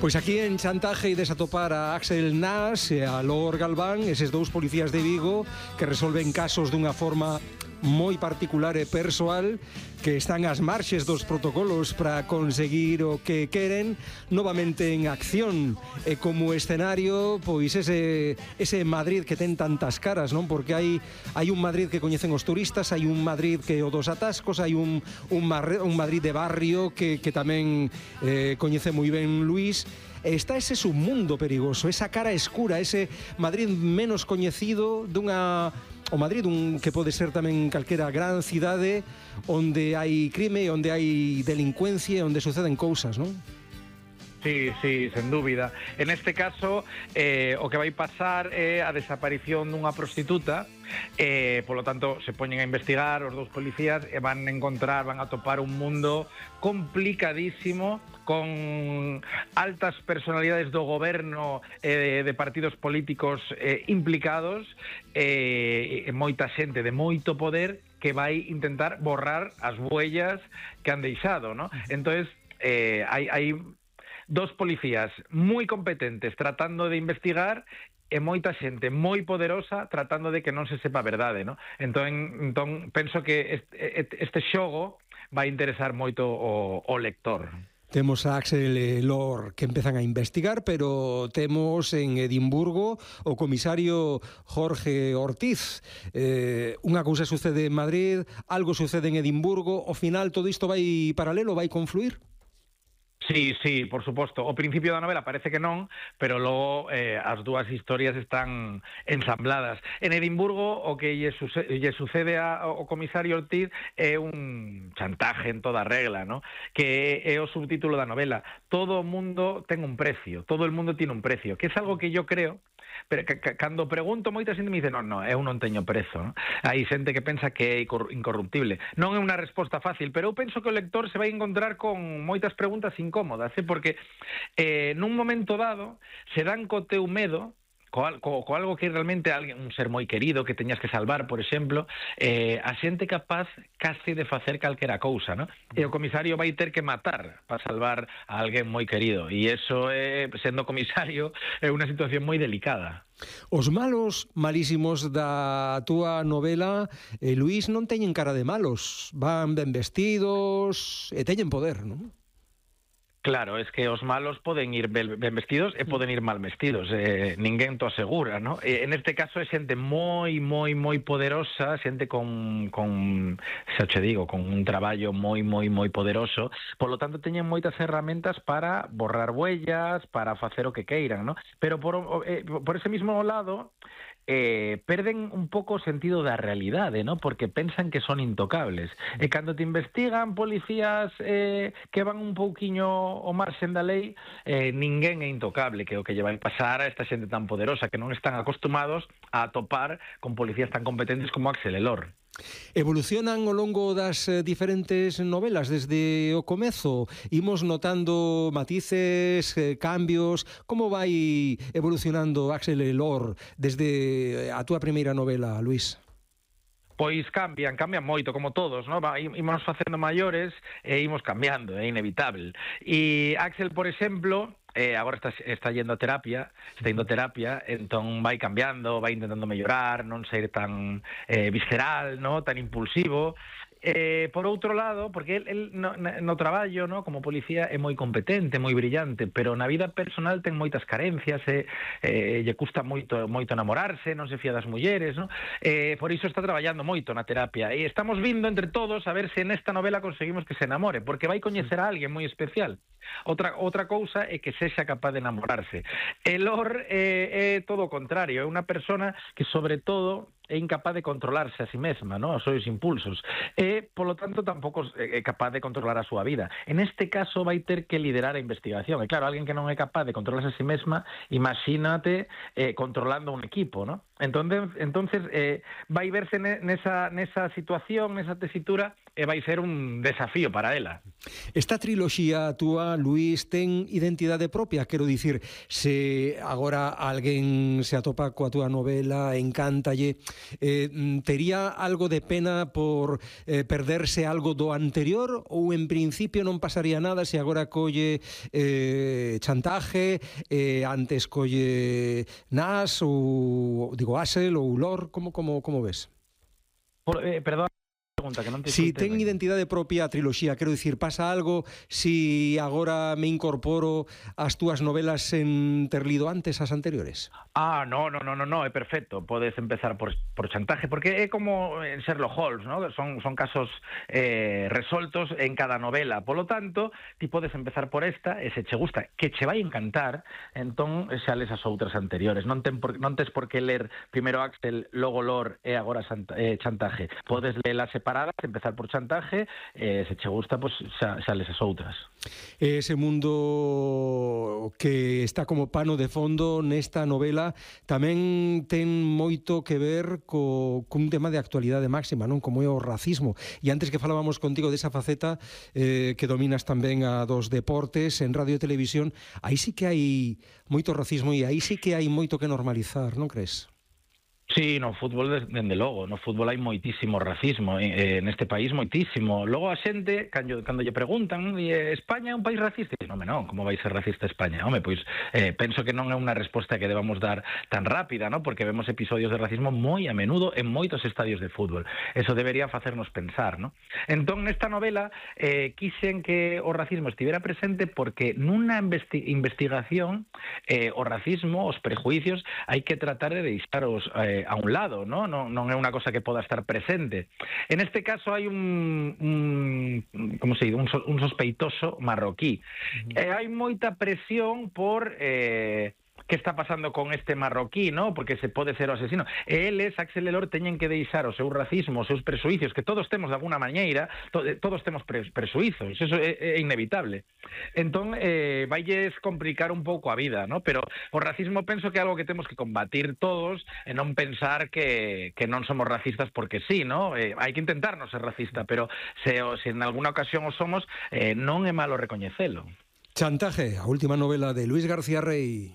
Pois aquí en Chantaje ides a topar a Axel Nas e a Lor Galván, eses dous policías de Vigo que resolven casos dunha forma moi particular e persoal, que están ás marxes dos protocolos para conseguir o que queren, novamente en acción, e como escenario, pois ese Madrid que ten tantas caras, non? Porque hai un Madrid que coñecen os turistas, hai un Madrid que o dos atascos, hai un Madrid de barrio que tamén coñece moi ben Luís. Está ese submundo perigoso, esa cara escura, ese Madrid menos coñecido o Madrid que pode ser tamén calquera gran cidade onde hai crime, onde hai delincuencia, onde suceden cousas, non? Sí, sen dúbida. En este caso, o que vai pasar é a desaparición dunha prostituta, polo tanto, se poñen a investigar os dous policías e van a topar un mundo complicadísimo, con altas personalidades do goberno de partidos políticos implicados, moita xente de moito poder que vai intentar borrar as huellas que han deixado, ¿no? Entonces, hai dos policías moi competentes tratando de investigar e moita xente moi poderosa tratando de que non se sepa a verdade, ¿no? Entón penso que este xogo vai interesar moito o lector. Temos a Axel e Lor que empezan a investigar, pero temos en Edimburgo o comisario Jorge Ortiz. Unha cousa sucede en Madrid, algo sucede en Edimburgo, ao final todo isto vai paralelo, vai confluir? Sí, por suposto. O principio da novela parece que non, pero logo as dúas historias están ensambladas. En Edimburgo o que lle sucede ao comisario Ortiz é un chantaje en toda regla, ¿no? Que é o subtítulo da novela. Todo o mundo ten un precio, todo el mundo tiene un precio, que é algo que yo creo. Pero cando pregunto, moita xente me dice non, eu non teño prezo, non? Hai xente que pensa que é incorruptible. Non é unha resposta fácil, pero eu penso que o lector se vai encontrar con moitas preguntas incómodas, porque nun momento dado se dan co teu medo, co algo que realmente un ser moi querido que teñas que salvar, por exemplo, a xente capaz case de facer calquera cousa, ¿no? E o comisario vai ter que matar para salvar a alguén moi querido, e iso, sendo comisario, é unha situación moi delicada. Os malos malísimos da túa novela, Luís, non teñen cara de malos, van ben vestidos e teñen poder, non? Claro, es que os malos poden ir ben vestidos e poden ir mal vestidos, ninguén to asegura, ¿no? En este caso é xente moi poderosa, xente con un traballo moi poderoso, polo tanto teñen moitas herramientas para borrar huellas, para facer o que queiran, ¿no? Pero por ese mismo lado, perden un pouco o sentido da realidade, ¿no? Porque pensan que son intocables. E cando te investigan policías que van un pouquiño ao marxen da lei, ninguén é intocable, que é o que lle vai pasar a esta xente tan poderosa que non están acostumados a topar con policías tan competentes como Axel e Lor. Evolucionan ao longo das diferentes novelas desde o comezo, imos notando matices, cambios. Como vai evolucionando Axel e Lor desde a túa primeira novela, Luís? Pois cambian moito, como todos, ¿no? Imos facendo maiores e imos cambiando, é inevitable. E Axel, por exemplo, agora está indo a terapia, entón vai cambiando, vai intentando mellorar, non ser tan visceral, ¿no? Tan impulsivo. Por outro lado, porque el no traballo, ¿no? Como policía é moi competente, moi brillante, pero na vida personal ten moitas carencias, lle custa moito enamorarse, non se fía das mulleres, ¿no? Por iso está traballando moito na terapia, e estamos vindo entre todos a ver se nesta novela conseguimos que se enamore, porque vai coñecer a alguén moi especial. Outra cousa é que sexa capaz de enamorarse. Lor é todo o contrario, é unha persona que, sobre todo, é incapaz de controlarse a si mesma, ¿no? Os seus impulsos. E, polo tanto, tampouco é capaz de controlar a súa vida. En este caso, vai ter que liderar a investigación. E, claro, alguén que non é capaz de controlarse a si mesma, imagínate controlando un equipo, ¿no? Entonces vai verse nesa situación, nesa tesitura, vai ser un desafío para ela. Esta triloxía túa, Luís, ten identidade propia? Quero dicir, se agora alguén se atopa coa túa novela, encántalle, tería algo de pena por perderse algo do anterior, ou en principio non pasaría nada se agora colle Chantaje, antes colle Nas, ou digo Axel ou Lor, como ves? Perdón, pregunta que non te Si escoitei ten ben. identidade propia a triloxía, quero dicir, pasa algo si agora me incorporo ás túas novelas sen ter lido antes as anteriores? No, é perfecto. Podes empezar por Chantaje, porque é como en Sherlock Holmes, ¿no? Son casos resoltos en cada novela. Polo tanto, ti podes empezar por esta, e se che gusta, que che vai encantar, entón xa les as outras anteriores. Non tes por que ler primeiro Axel, logo Lor e agora Chantaje. Podes lelas separadas, empezar por Chantaje, se che gusta, pues xa les as outras. Ese mundo que está como pano de fondo nesta novela tamén ten moito que ver cun tema de actualidade máxima, non? Como é o racismo. E antes que falábamos contigo desa faceta que dominas tamén a dos deportes en radio e televisión, aí sí que hai moito racismo e aí sí que hai moito que normalizar, non crees? Sí, no fútbol, dende logo. No fútbol hai moitísimo racismo neste país, moitísimo. Logo a xente, cando lle preguntan, España é un país racista? E non, como vai ser racista España? Home, pois penso que non é unha resposta que debamos dar tan rápida, ¿no? Porque vemos episodios de racismo moi a menudo en moitos estadios de fútbol. Eso debería facernos pensar, ¿no? Entón, nesta novela, quixen que o racismo estivera presente porque nunha investigación o racismo, os prejuicios, hai que tratar de deixaros a un lado, ¿no? Non é unha cosa que poda estar presente. En este caso hai un sospeitoso marroquí. Hai moita presión por que está pasando con este marroquí, ¿no? Porque se pode ser o asesino. E eles, Axel e Lor, teñen que deixar o seu racismo, os seus presuizos, que todos temos de alguna maneira, todos temos presuizos, eso é inevitable. Entón, vailles complicar un pouco a vida, ¿no? Pero o racismo penso que é algo que temos que combatir todos e non pensar que non somos racistas porque sí, ¿no? Hai que intentar non ser racista, pero se en alguna ocasión o somos, non é malo recoñecelo. Chantaje, a última novela de Luís García Rey.